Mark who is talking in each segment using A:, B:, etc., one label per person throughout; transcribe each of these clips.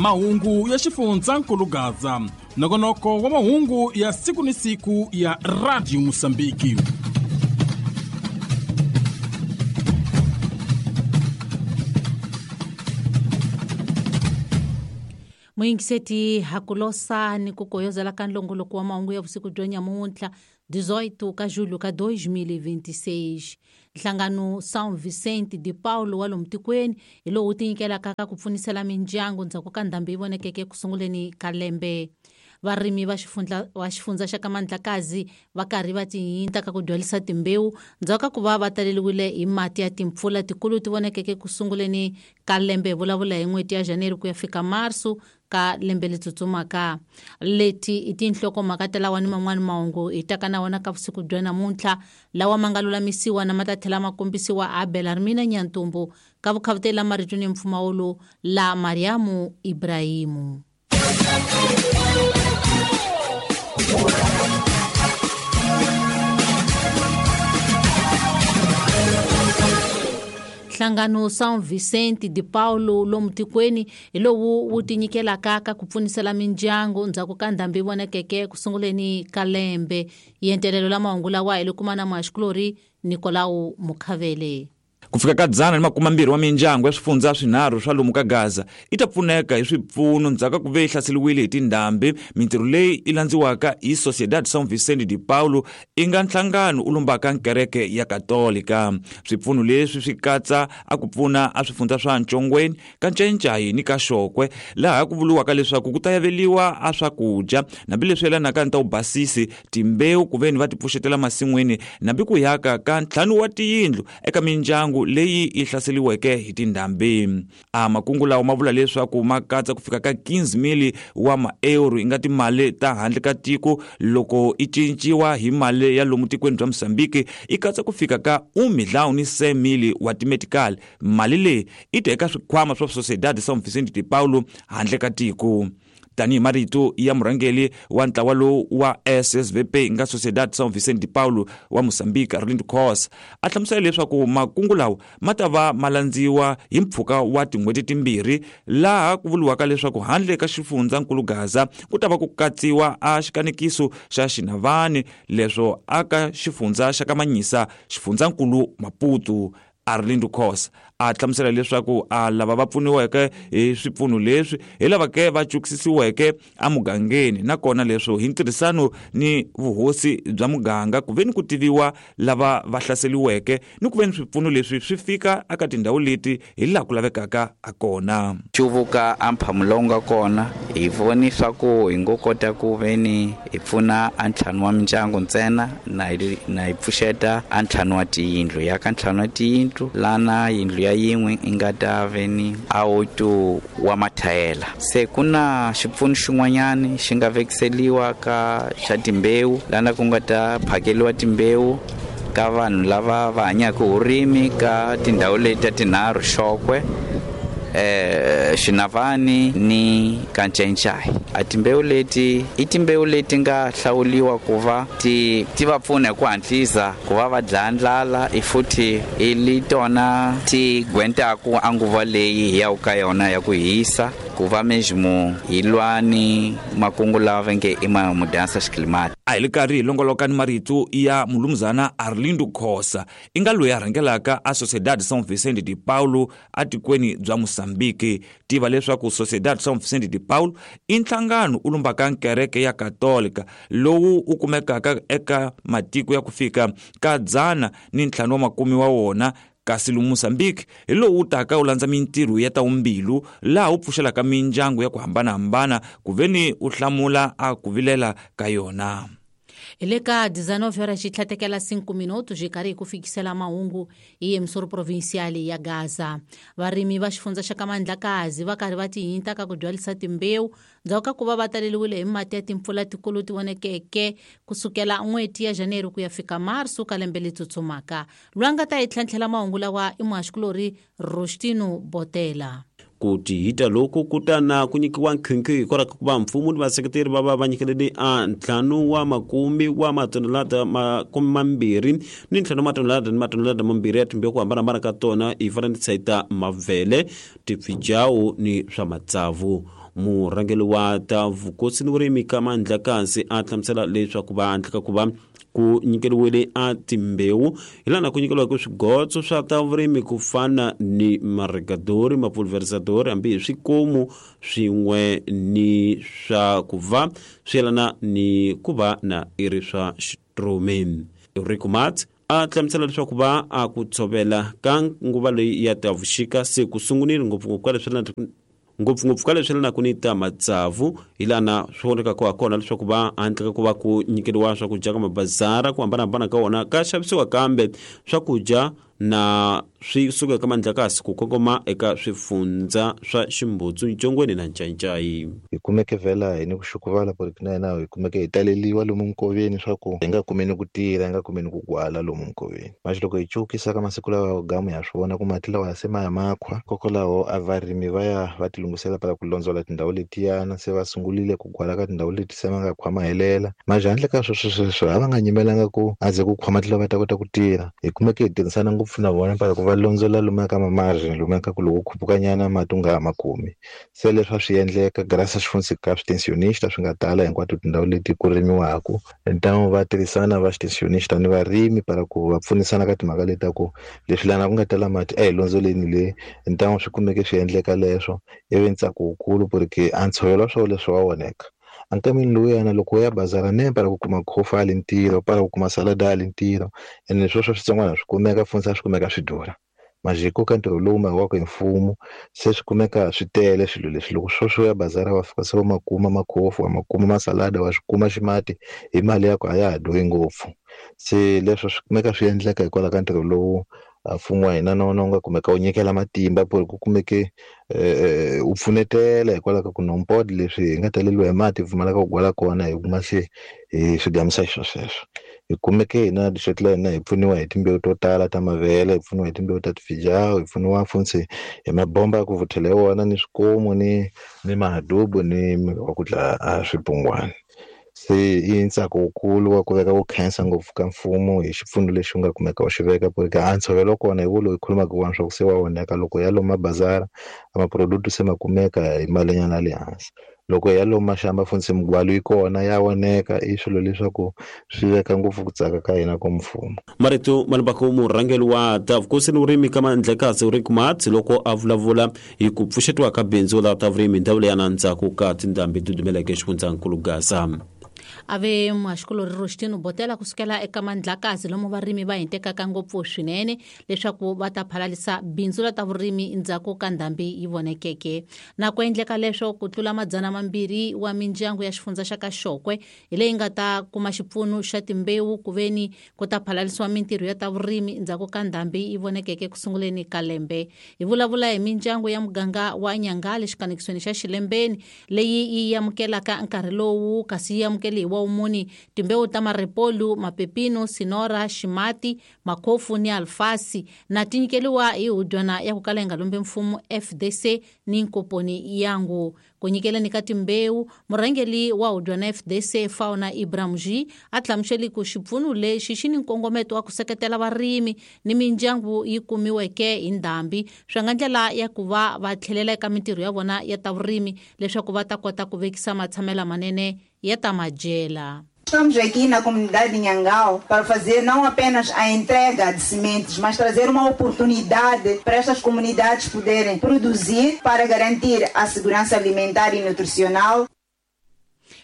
A: Mahungu ya xifundzankulu Gaza, nongonoko wa mahungu ya siku ni siku ya Radio Mosambiki.
B: Muyingiseti hakulosa ni ku koyozela ka nlongoloko wa mahungu ya vusiku bya nyamuntlha 18 ka julho ka 2026. Nhlangano São Vicente de Paulo wa lomu tikweni hi lowu wu tinyikelaka ka ku pfunisela mindyangu ndzhaku ka ndhambi yi vonekeke ku sunguleni ka lembe. Varimi va xifundza xa ka Mandlakazi va karhi va tihinta ka ku dyalisa timbewu ndzhaku ka ku va va taleliwile hi mati ya timpfula tikulu ti vonekeke ku sunguleni ka lembe, vulavula hi n'hweti ya January ku ya fika Marso ka lembe leri tsutsumaka. Leti i tinhlokomhaka ta lawa ni man'wani mahungu hi taka na wona ka vusiku bya namuntlha, lawa ma nga lulamisiwa na ma ta tlhela ma kombisiwa a Belarmina Nyantumbu ka vukhavuteli la marito ni mpfumawulo la Mariamu Ibrahimu. Nhlangano São Vicente de Paulo lomu tikweni hi lowu wu tinyikelaka ka ku pfunisela mindyangu ndzhaku ka ndhambi yi vonekeke ku sunguleni ka lembe. Yentelelo la mahungu lawa hi le kuma na muhaxikulorhi Nicolau Mukhavele.
C: Ku fika ka 120 wa mindyangu ya swifundza swinharhu swa lomu ka Gaza i ta pfuneka hi swipfuno ndzhaku ka ku ve yi hlaseriwile hi tindhambi. Mintirho leyi yi landziwaka hi Sociedad São Vicente de Paulo i nga nhlangano u lombaka nkereke ya Katolika. Swipfuno leswi swi katsa a ku pfuna a swifundza swa Ntshongweni, ka Ncayincai ni ka Xokwe, laha ku vuriwaka leswaku ku ta yaveliwa a swakudya hambileswi yelanaka ni ta vubasisi, timbewu ku veni va ti pfuxetela masin'wini nambi ku yaka ka 5 wa tiyindlu eka mindyangu leyi yi hlaseriweke hi tindhambi. A makungu lawa ma vula leswaku ma katsa ku fika ka 15,000 wa maeuro yi nga timali ta handle ka tiko loko i cinciwa hi mali ya lomu tikweni bya Mozambique, i katsa ku fika ka 1,100,000 wa timetical. Mali leyi i ta eka swikhwama swa Sociedad São Vicente de Paulo handle ka tiko. Tanihi marito ya murhangeri wa ntlawa lowu wa SSVP nga Sociedad São Vicente de Paulo wa Mozambique, Arlindo Khosa, a hlamusela leswaku makungu lawa ma ta va ma landziwa hi mpfhuka wa tin'hweti timbirhi, laha ku vuriwaka leswaku handle ka xifundzankulu Gaza ku ta va ku katsiwa a xikanekiso xa Xinavani, leswo aka xifundza xa Kamanyisa, xifundzankulu Maputo. Arlindo Khosa a hlamusela leswaku a lava va pfuniweke hi swipfuno leswi hi lava ke va cukisisiweke emugangeni, nakona leswo hi ntirhisano ni vuhosi bya muganga ku veni ku tiviwa lava va hlaseriweke ni ku veni swipfuno leswi swi fika eka tindhawu leti hi laha ku lavekaka a kona.
D: Cuvuka a mphamu lowu nga kona hi voni swa ku hi ngo kota ku veni hi pfuna a ntlhanu wa mindyangu ntsena na hi pfuxeta a ntlhanu wa tiyindlu ya ka ntlhanu wa tiyindlu lana yindlu ya yin'we i nga ta veni a oito wa mathayela. Se ku na xipfuno xin'wanyani xi nga vekiseliwa ka xa timbewu lana ku nga ta phakeliwa timbewu ka vanhu lava va hanyaka hi vurimi ka tindhawu leti ta tinharhu, Xokwe, Xinavani ni Kancencai. A timbewu leti i timbewu leti nga hlawuliwa ku va ti va pfuna hi ku hatlisa ku va va dlaya ndlala, i futhi i li tona ti gwentaku a nguva leyi hi yaku ka yona ya ku hisa, ku va mesmo hi lwa ni makungu lawa va nge i ma mudansa xiklimati.
C: A hi le karhi hi longoloka ni marito ya mulumuzana Arlindo Khosa, i nga loyi a rhangelaka a Sociedad São Vicente de Paulo atikweni bya Mozambique. Tiva leswaku Sociedad São Vicente de Paulo i nhlangano u lombaka nkereke ya Katolika lowu u kumekaka eka matiko ya ku fika ka 150 wa wona, kasi lomu Mozambique hi lowu wu taka wu landza mintirho ya ta vumbilu laha wu pfuxelaka mindyangu ya ku hambanahambana ku veni u hlamula a ku vilela ka yona.
B: Hi le ka 19 horas xi tlhatekela 5 minutos hi karhi hi ku fikisela mahungu hi emisoro provincial ya Gaza. Varimi va xifundza xa ka Mandlakazi va karhi va tihinta ka ku byalisa timbewu ndzhaku ka ku va va taleliwile hi mati ya timpfula tikulu ti vonekeke kusukela n'hweti ya January ku ya fika Marso ka lembe leri tsutsumaka. Loyi a nga ta hi tlhantlhela mahungu lawa i muhaxikulorhi Rostino Botela.
E: Ku tihita loku ku ta na ku nyikiwa nkhinkhi hikwalaho ka ku va mfumo ni vaseketeri va va va nyikelele a ntlhanu wa makume wa matonelada makume mambirhi ni ntlhanu wa matonelada ni matonelada mambirhi ya timbewu ku hambanahambana ka tona hi fananisa ta mavele, tifijawu ni swa matsavu. Murhangeri wa ta vukosi ni vurimi ka Mandlakazi a hlamusela leswaku va handle ka ku va ku nyikeriwile a timbewu hi laha ku nyikeriwaka swigotso swa ta vurimi ku fana ni marigadori, mapulverizadori, hambi hi swikomu swin'we ni swa ku va swi yelana ni ku va na i ri swa xitromi. Rico Mats a hlamusela leswaku va a ku tshovela ka nguva leyi ya ta vuxika se ku sungunile, ngopfungopfu ka leswi ngopfungopfu ka leswi yelanaka ni ta matsavu, hi lana swi vonekaka ha kona leswaku va handle ka ku va ku nyikeriwa swakudya ka mabazara ku hambanahambana ka wona ka xavisiwa, kambe swakudya na swi suka eka Mandlakasi ku kongoma eka swifundza swa Ximbutsu, Ncongweni na Ncayicayi.
F: Hi kumeke vhela hi ni ku xukuvala ku ri na hina hi kumeke hi taleliwa lomu nkoveni, swa ku hi nga kumeni ku tirha, hi nga kumeni ku gwala lomu nkoveni. Manje loko hi cukisa ka masiku lawa gamu ha swi vona ku mati lawa se ma ya makhwa, kokwalaho a varimi va ya va ti lunghisela para ku londzola tindhawu letiyana, se va sungulile ku gwala ka tindhawu leti se ma nga khwa ma helela. Manje handle ka sweswo sweswo a va nga nyimelanga ku a ze ku khwa mati lawa va ta kota ku tirha. Hi kumeke hi tirhisana ngopfu na vona para ku va londzola lomuya ka mamargin, lomuya ka ku loko khupukanyana mati u nga ha ma kumi. Se leswi a swi endleka graças funtsi ka switensionista swi nga tala hinkwato tindhawu leti ku rimiwaka. Ntangu va tirhisana va switensionista ni varimi para ku va pfunisana ka timhaka leti ta ku leswi lana ku nga tala mati a hi londzoleni le. Ntangu swi kumeke swi endleka leswo, ivi ntsako wukulu porque a ntshovelo wa swona leswi wa voneka. Ankameni lowuyana loko u ya bazara ne para ku kuma khofa a le ntirho, para ku kuma salada a le ntirho, ene sweswo switsongwana swi kumeka funtsi a swi kumeka swi durha. Majiko ka ntirho lowu makiwaka hi mfumo se swi kumeka swi tele swilo leswi. Loko sweswo ya bazara wa fika se wa makuma makhofu, wa makuma masalada, wa swi kuma ximati hi mali ya ku a ya ha durhi ngopfu. Se leswo swi kumeka swi endleka hikwalaho ka ntirho lowu mfumo wa hina na wona wu nga kumeka wu nyikela matimba ku ri ku kumeke wu pfunetela hikwalaho ka ku nompod leswi hi nga taleliwa hi mati hi pfumalaka ku gwala kona, hi kuma se hi swi gamisa xiswo sweswo. Hi kumeke hina district la hina hi pfuniwa hi timbewu to tala ta mavele, hi pfuniwa hi timbewu ta tifijawu, hi pfuniwa funtsi hi mabomba ya ku vuthela hi wona, ni swikomu, ni mahadubu, ni wa ku dlaya a swibungwana. Se i ntsako wukulu wa ku veka ku khensa ngopfu ka mfumo hi xipfuno lexi u nga kumeka u xi veka, ku ri ka a ntshovelo kona hi wo loyi khulumaka wona swa ku se wa onheka. Loko ya lomu mabazara a maproduct se ma kumeka hi malinyana ya le hansi, loko ya lomu maxamba funtsi migwalo yi kona ya oneka. I swilo leswaku swi veka ngopfu ku tsaka ka hina ka mfumo.
E: Marito malibako murhangeri wa ta vukosi ni vurimi ka Mandlakazi Rick Mats loko a vulavula hi ku pfuxetiwa ka bindzu la ta vurimi ndhawu leyi ya na ndzhaku ka tindhambi ti dumeleke xifundzankulu Gaza.
B: Ave muhaxikulori Rostino Botela kusukela eka Mandlakazi lomu varimi va hintekaka ngopfu swinene leswaku va ta phalalisa bindzu la ta vurimi ndzhaku ka ndhambi yi vonekeke. Na ku endleka leswo ku tlula 200 wa mindyangu ya xifundza xa ka Xokwe hi leyi nga ta kuma xipfuno xa timbewu ku veni ku ta phalalisiwa mintirho ya ta vurimi ndzhaku ka ndhambi yi vonekeke ku sunguleni ka lembe. Hi vulavula hi mindyangu ya muganga wa Nyangale xikanekisweni xa Xilembeni leyi yi amukelaka nkarhi lowu, kasi yi amukele hi wa wumuni timbewu ta marepolu, mapepino, sinora, ximati, makhofu ni alfasi, na ti nyikeliwa hi hudywana ya ku kala yi nga lombi mfumo FDC ni nkoponi yangu. Ku nyikeleni ka timbewu, murhangeri wa hudywana FDC Fauna Ibrahimji a hlamusele ku xipfuno lexi xi ni nkongometo wa ku seketela varimi ni mindyangu yi kumiweke hi ndhambi, swi nga ndlela ya ku va va tlhelela eka mintirho ya vona ya ta vurimi leswaku va ta kota ku vekisa matshamelo manene ya ta madyela.
G: Estamos aqui na comunidade de Nhangau para fazer não apenas a entrega de sementes, mas trazer uma oportunidade para estas comunidades poderem produzir para garantir a segurança alimentar e nutricional.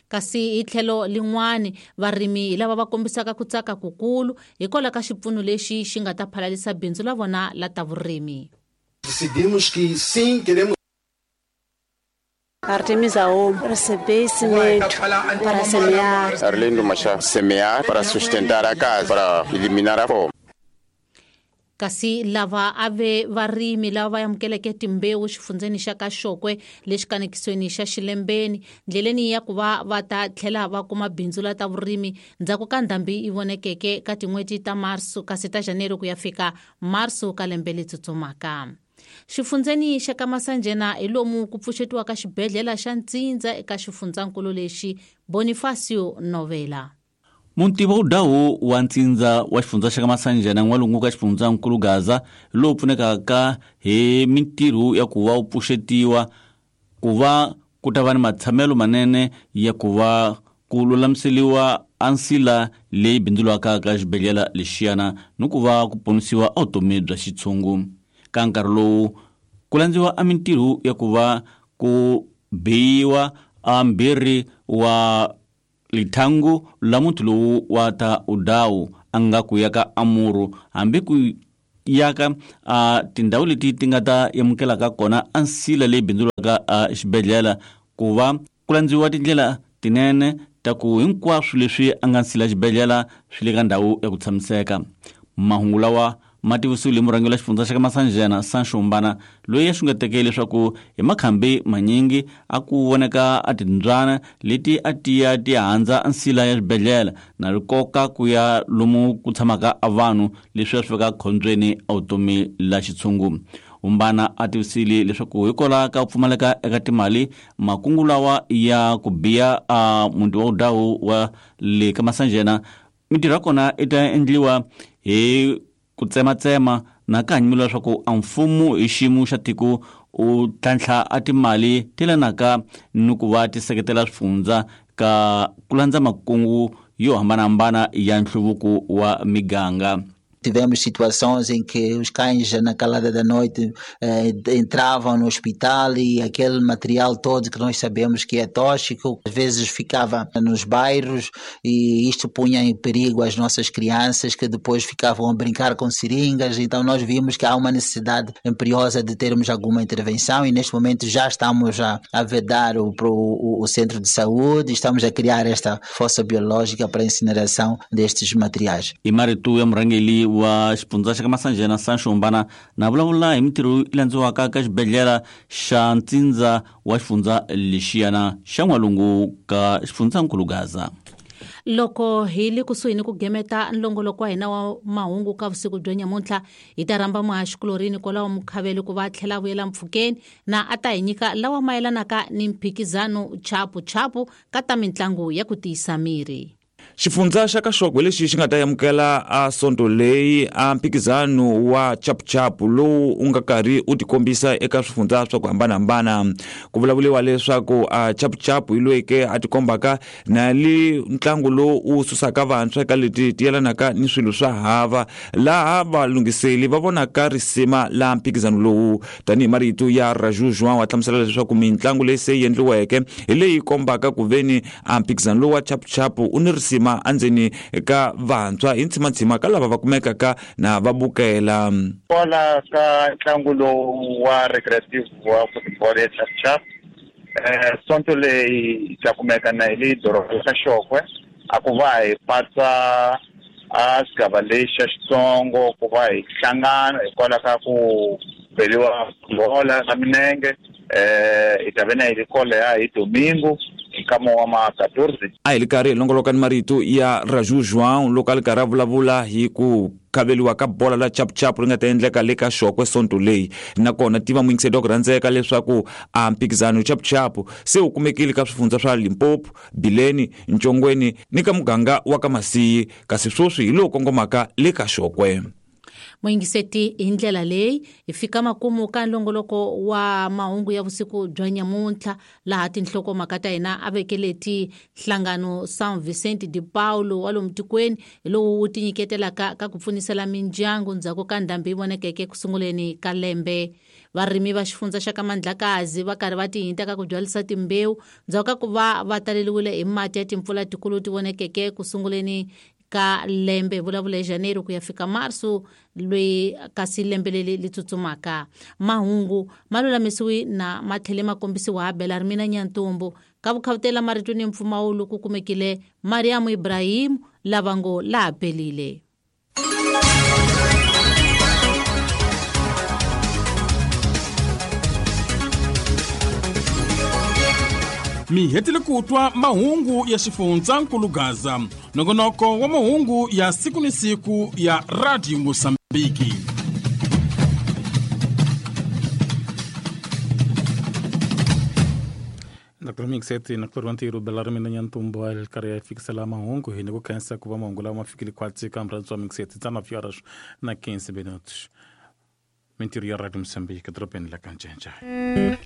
B: Kasi hi tlhelo lin'wani varimi hi lava va kombisaka ku tsaka kukulu hikwalaho ka xipfuno lexi xi nga ta phalalisa bindzu la vona la ta vurimi.
H: Decidimos que sim, queremos
I: Artemisa Home, receber cimento para semear.
J: Arlindo Machado, semear para sustentar a casa, para eliminar a fome.
B: Kasi lava ave varimi lava va amukeleke timbewu xifundzeni xa ka Xokwe lexi kanekisweni xa Xilembeni ndleleni ya ku va va ta tlhela va kuma bindzu la ta vurimi ndzhaku ka ndhambi yi vonekeke ka tin'hweti ta Marso kasi ta Janeiro ku ya fika Marso ka lembe leri tsutsumaka. Xifundzeni xa ka Masanjena hi lomu ku pfuxetiwaka xibedhlele xa Ntsindza eka xifundzankulu lexi. Bonifacio Novela.
K: Munti wa Udawu wa Ntsindza wa xifundza xa ka Masanjena n'walungu ka xifundzankulu Gaza lowu pfunekaka hi mintirho ya ku va wu pfuxetiwa ku va ku ta va ni matshamelo manene ya ku va ku lulamiseliwa a nsila leyi bindzulwaka ka xibedhlele lexiyana ni ku va ku ponisiwa a vutomi bya xitshungu. Ka nkarhi lowu ku landziwa a mintirho ya ku va ku biyiwa a mbirhi wa lithangu la muti lowu wa ta Udawu a nga ku ya ka Amuru hambi ku ya ka a tindhawu leti ti nga ta amukelaka kona a nsila leyi bindzulwaka a xibedhlele ku va ku landziwa tindlela tinene ta ku hinkwaswo leswi a nga nsila xibedhlele swi le ka ndhawu ya ku tshamiseka. Mahungu lawa ma tivisiwile murhangeri wa xifundza xa ka Masanjena Sancho Mbana loyi a xungeteke leswaku hi makhambi manyingi a ku voneka a timbyana leti a tiya ti handza nsila ya xibedhlele na rikoka ku ya lomu ku tshamaka a vanhu leswi a swi veka khombyeni a vutomi la xitshungu. Mbana a tivisile leswaku hikwalaho ka ku pfumaleka eka timali makungu lawa ya ku biya a muti wa Udawu wa le ka Masanjena mintirho ya kona i ta endliwa hi ku tsematsema na ka hanyimelo leswaku a mfumo hi xiyimo xa tiko u tlhantlha a timali ti yelanaka ni ku va ti seketela swifundza ka ku landza makungu yo hambanahambana ya nhluvuko wa miganga.
L: Tivemos situações em que os cães na calada da noite entravam no hospital e aquele material todo que nós sabemos que é tóxico, às vezes ficava nos bairros e isto punha em perigo as nossas crianças que depois ficavam a brincar com seringas. Então nós vimos que há uma necessidade imperiosa de termos alguma intervenção e neste momento já estamos a vedar o centro de saúde, estamos a criar esta fossa biológica para a incineração destes materiais.
K: E Maritu Mrangeli wa xifundza xa ka Masanjena Sancho Mbana na vulavula hi mintirho yi landziwaka ka xibedhlele xa Ntsindza wa xifundza lexiyana xa n'walungu ka xifundzankulu Gaza.
B: Loko hi le kusuhi ni ku gemeta nlongoloko wa hina wa mahungu ka vusiku bya nyamuntlha hi ta rhamba muhaxikulorini kwalaho Mukhavele ku va tlhela vuyela mpfhukeni na a ta hi nyika lawa mayelanaka ni mphikizano chapu chapu ka ta mitlangu ya ku tiyisa miri.
C: Xifundza xa ka Xokwe lexi xi nga ta amukela a sonto leyi a mphikizano wa chapuchapu lowu u nga karhi u tikombisa eka swifundza swa ku hambanahambana. Ku vulavuriwa leswaku a chapuchapu hi loyi ke a tikombaka na li ntlangu lowu u susaka vantshwa eka leti ti yelanaka ni swilo swa hava, laha valunghiseli va vonaka risima la mphikizano lowu. Tanihi marito ya Raju João wa hlamusela leswaku mitlangu leyi se yi endliweke hi leyi kombaka ku veni a mphikizano lowu wa chapuchapu u ni risima andzeni ka vantshwa hi ntsimantsima ka lava va kumekaka na va bukela.
M: Kwala ka ntlangu lowu wa recreative wa football ya chapuchapu sonto leyi ta kumeka na hi le doroba ka Xokwe a ku va hi patsa a xigava lexi xa Xitsongo ku va hi hlangana hikwalaho ka ku beriwa bola na minenge hi ta ve na hi ri kwalaya hi domingo nkama wa ma 14.
C: A hi li karhi hi longoloka ni marito ya Raju João loko a li karhi a vulavula hi ku khaveliwa ka bola la chapuchapu ri nga ta endleka le ka Xokwe sonto leyi. Nakona tiva muyingiseri wa ku rhandzeka leswaku a mphikizano chapuchapu se wu kumekile ka swifundza swa Limpopo, Bileni, Ntshongweni ni ka muganga wa ka Masiyi, kasi sweswi hi lowu kongomaka le ka Xokwe.
B: Muyingiseti hi ndlela leyi hi fika makumu ka nlongoloko wa mahungu ya vusiku bya nyamuntlha laha tinhlokomhaka ta hina a vekeleti nhlangano São Vicente de Paulo wa lomu tikweni hi lowu wu tinyiketelaka ka ku pfunisela mindyangu ndzhaku ka ndhambi yi vonekeke ku sunguleni ka lembe. Varimi va xifundza xa ka Mandlakazi va karhi va tihinta ka ku byalisa timbewu ndzhaku ka ku va va taleliwile hi mati ya timpfula tikulu ti vonekeke ku sunguleni ka lembe vulavula hi Janeiro ku ya fika Marso loyi kasi lembe leri li tsutsumaka. Mahungu ma lulamisiwi na ma tlhele ma kombisiwa ha Belarmina Nyantumbu ka vukhavutela marito ni mpfumawulo ku kumekile Mariam Ibrahim lava ngo laha pelile.
A: Mi hetile ku twa mahungu ya xifundzankulu Gaza, nongonoko wa mahungu ya siku ni siku ya Radio Mosambiki. Dr. Mixeti na kulori wa ntirho bela ri mina nyantumbo a karhi ya fikisela mahungu hi ni ku khensa ku va mahungu lawa ma fikile khwatsi ka murhandzi wa Mixeti 19 horas na 15 minutos. Mintirho ya Radio Moçambique, dorobeni la ka Ncencane.